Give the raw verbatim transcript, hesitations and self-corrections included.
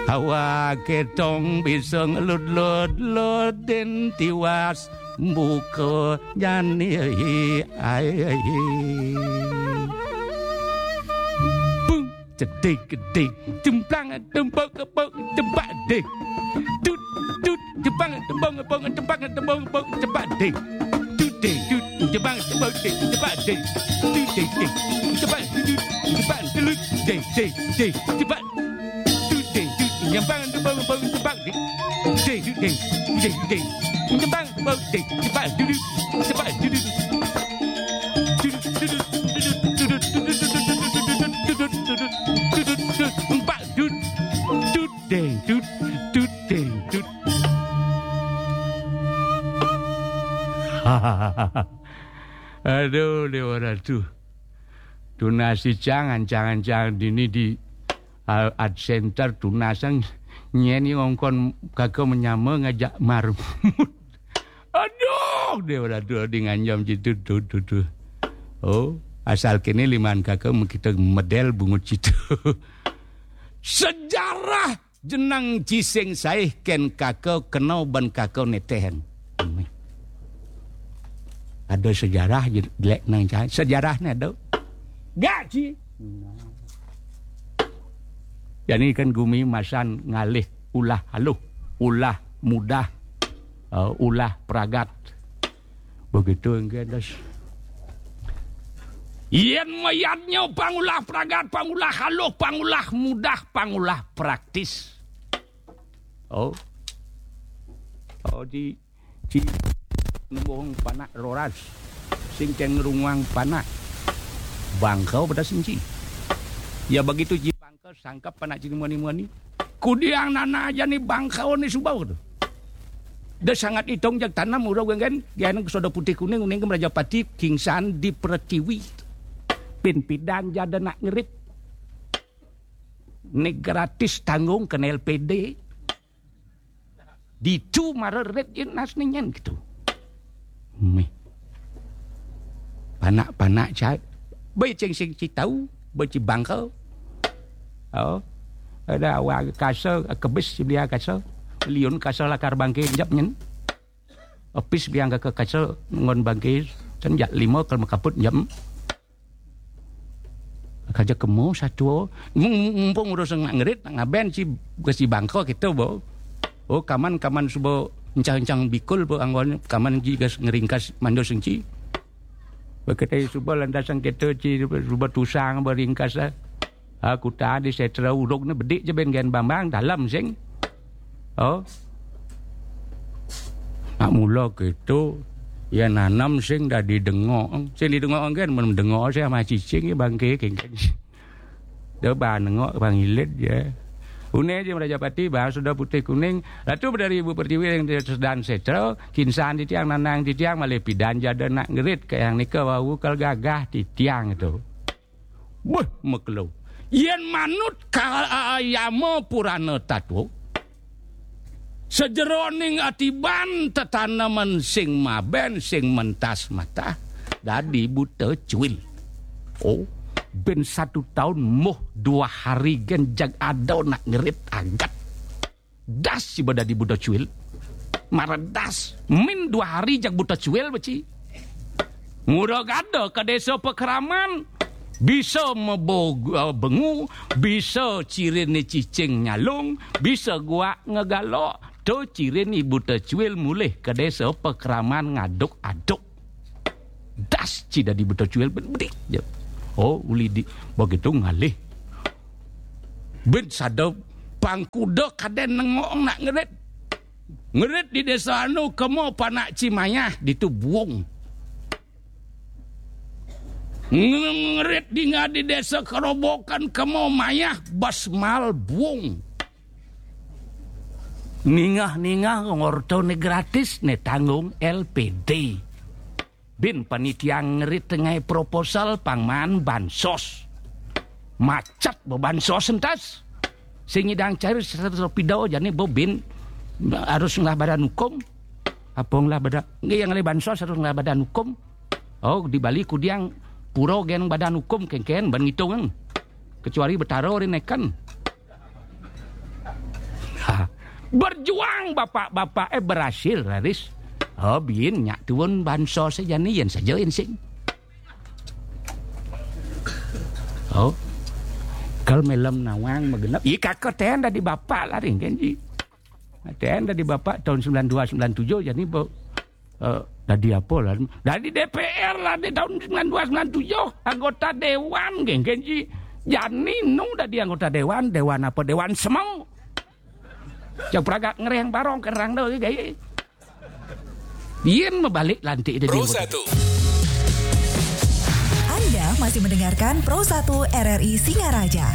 Awake tong bisa ngelud-lud-ludin tiwas buka jani ai. Bung, cedik, cedik, cemplang, tembok, kebok, tempak, dek. Dut, dut, cemplang, tembok, kebok, tempak, tembok, kebok, tempak, dek. Dut, dek, dut, cemplang, tembok, dek, tempak, dek. Dut, dek, dek, cemplang, dut, cemplang, dut, dek, dek, dek, cemplang. Dut, dek, dut, nyempang, nyempang, nyempang, nyempang, dek. Dek, dut, dek, dek, dek. Nyempang, nyempang, dek, nyempang, dudut, nyempang, dudut. Dudut, dudut, dudut, dudut, dudut, nyempang, dut. Dut, deng, dut, dut, deng, dut. Aduh, Dewa Ratu. Tunas icang, ancang-ancang dini di, ah, Art Center tunasang nyeni ngongkon kaka menyama ngajak marmut. Aduh, Dewa Ratu di nganjam jitu tu, tu, tu. Oh, asal kini liman kaka kita medel bungut jitu. Sejarah jenang Cising Saih ken kaka kena ban kaka netehen. Ada sejarah je-, jelek nang cai. Sejarahnya ada. Gak, Ci. Jadi kan gumi masan ngalih ulah aluh, ulah mudah, eh, ulah pragat. Begitu engke das. Yen mayadnya pangulah pragat, pangulah aluh, pangulah mudah, pangulah praktis. Oh. Oh, di, di nembung panak roras. Sing ken ngerunguang panak. Bangkau pada senci. Ya begitu ji bangkau sangkap panak cini mani-mani. Kudiang nana aja ni bangkau ni subau tu. Dia sangat hitung jak tanam urau gengen, gengen soda putih kuning, kuning ke Meraja Pati, kingsan di pertiwi. Pin pidan jada nak ngerit. Ni gratis tanggung kena L P D. Ditu mara red je nas ni nyen gitu. Meh. Panak-panak cai. Bai ceng sing ci tau, bai ci bangka. Oh. Ada awak kasa, kebis belia kasa. Liun kasa lakar bangke jap nyen. Opis biang ke kasa ngon bangke. Sen jak lima kal makaput jap. Kaja kemo satu. Mung-, mumpung urus nak ngerit, nak ngaben si, ke si bangka kita, bo. Oh, kaman, kaman suba encang-encang bikul, bo, anggon, kaman ji gas ngeringkas mando senci. Beketai suba lantasan kita ci, suba tusang, beringkas, ah. Aku tadi setra uruk ni bedik je ben gen bambang, dalam sing. Oh. Nak mula gitu, ya nanam sing dah didengok. Sing didengok kan, men dengok saya sama cicing ya bangke, kengken. Dia bang nengok, bang ilit je. Une je Meraja Pati, bang sudah putih kuning. Latu berdari ibu pertiwi yang dia sedang setra, kinsan titiang nanang titiang, malih pidan jada nak ngerit ke yang nika wau kal gagah titiang tu. Beh, mekelo. Yen manut ka-, Yama Purana Tatwa, sejeroning atiban tetanemen sing maben, sing mentas matah, dadi buta cuil. Oh, ben satu taun moh dua hari gen jag ada nak ngerit agat. Das si ba dadi buta cuil. Mara das. Min dua hari jag buta cuil, beci. Ngura gada ka desa Pekraman. Bisa mebo, eh, bengu, bisa cirin ni cicing nyalung, bisa guak ngegalok, to cirin ni buta cuil mulih ka desa Pekraman ngaduk-aduk. Das ci dadi buta cuil ben bedik je. Oh, uli di begitu ngalih. Ben sada pangkuda kaden nengok nak ngerit. Ngerit di desa anu kemo panak ci mayah ditu buung. Ngerit dinga di desa kerobokan kemo mayah basmal buung. Ningah-ningah ngorto ne gratis ne tanggung L P D. Bin panitia ngerit tengai proposal pangman bansos. Macet bo bansos entas. Sing idang cair seratus pidau jani bo bin harus ngelah badan hukum. Apa ngelah badan, nggih yang ngelah bansos harus ngelah badan hukum. Oh, di Bali kudiang pura gen badan hukum kengken ban ngitung. Kecuali betara rineken. Berjuang bapak-bapak eh berhasil, raris. Oh, bin nyak tuun bansos jani, yen saja ensing. Oh. Kal melem nawang magenep. Ih, kaka ten dadi bapak lah ring kenji. Ten dadi bapak tahun sembilan dua sembilan tujuh jani, bo. Eh, dadi apa lah? Dadi D P R lah di tahun sembilan dua sembilan tujuh, anggota dewan, geng, genji. Jani nu dadi anggota dewan, dewan apa? Dewan Semeng. Cak pragak ngereng barong kerang do, gaya. Yen mabalik lantik dadi Pro anggota. Satu. Anda masih mendengarkan Pro satu R R I Singaraja.